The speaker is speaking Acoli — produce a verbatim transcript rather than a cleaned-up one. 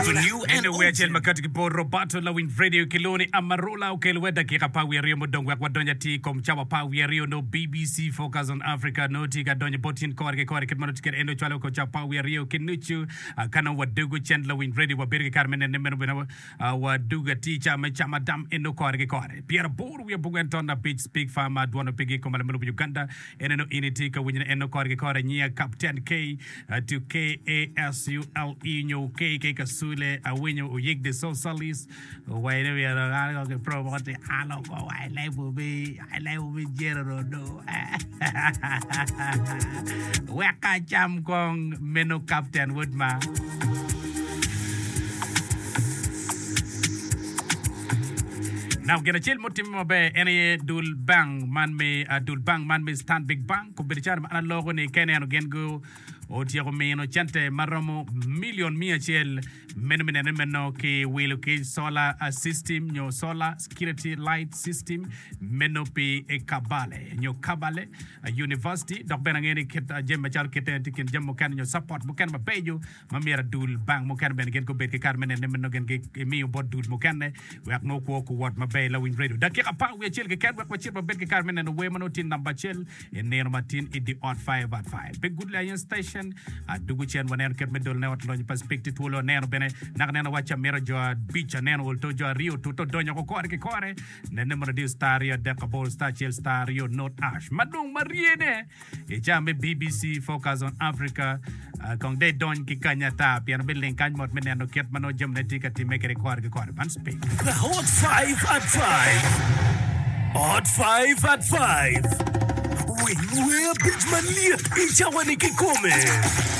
For new and Eno wer old acel ma kati ki bot Roberto Lawiny Radio ki lwongo ni Amarula okelo wer dakika apar wiye aryo mudong wek wadony atir i kom cawa apar wiye aryo nongo BBC Focus on Africa nongo tye ka donyo bot in kore ki kore kit ma nongo tye kwede en dong cwalo ko cawa apar wiye aryo ki nucu Ah, ka nongo wadugo cen Lawiny Radio wabedo ki kare me nene meno bene ah, wadugo atir ca me camo adam eno kore ki kore pyeraboro wiye abongwen ton abic Speak Farmer dwono pigi i kom alame lobo Uganda en eno in itye ka winyone eno kore ki kore nyiya Captain K uh, to K A S U L E nyo K K Kasule awinyo oyik the socialist waine myero an ko ki promote alo ko wai lebo bi ai lebo bi jero rodo wek acam kong meno Captain wod ma Now, gin acel mutimme maber en aye dul bank man me uh, dul bank man me Stanbic Bank obedo calo ma an aloko ni ka ineno gin gu otyeko mino cente maromo milion miya acel meno me neno ni meno ki wilo ki solar uh, system nyo solar security light system meno pi e Kabale nyo Kabale uh, University dok bene angeyo ni kit uh, jami macalo kite tye kin jami mukene nyo support mukene mabeco ma myero dul bank mukene bene gin gubed ki kare me neno ni meno gin gimiyo bot dul mukene wek nongo kwo kuwot maber lawiny radio dakika apar wiye acel keken wek wacit wabed ki kare me neno wer ma nongo tye namba acel i nino matin i the ot five at five pe good lion station adugu cen waneno kit me dolone ot lonyo pa Spik tye twolo aneno bene naka neno wacci amito jo abic aneno olto jo aryo tuto donyo ko kore ki kore nene mono diyo star aryo adek aboro star acel star aryo not ash ma dong ma ryene i ca me BBC Focus on Africa uh, kong de dony ki kany ata pien obiling kany mot me neno kit ma nongo jamine tye ka timme kede kore ki kore man Spik The Hot five at five. Hot five at five. Winy wer abic malyet i cawa ni kikome.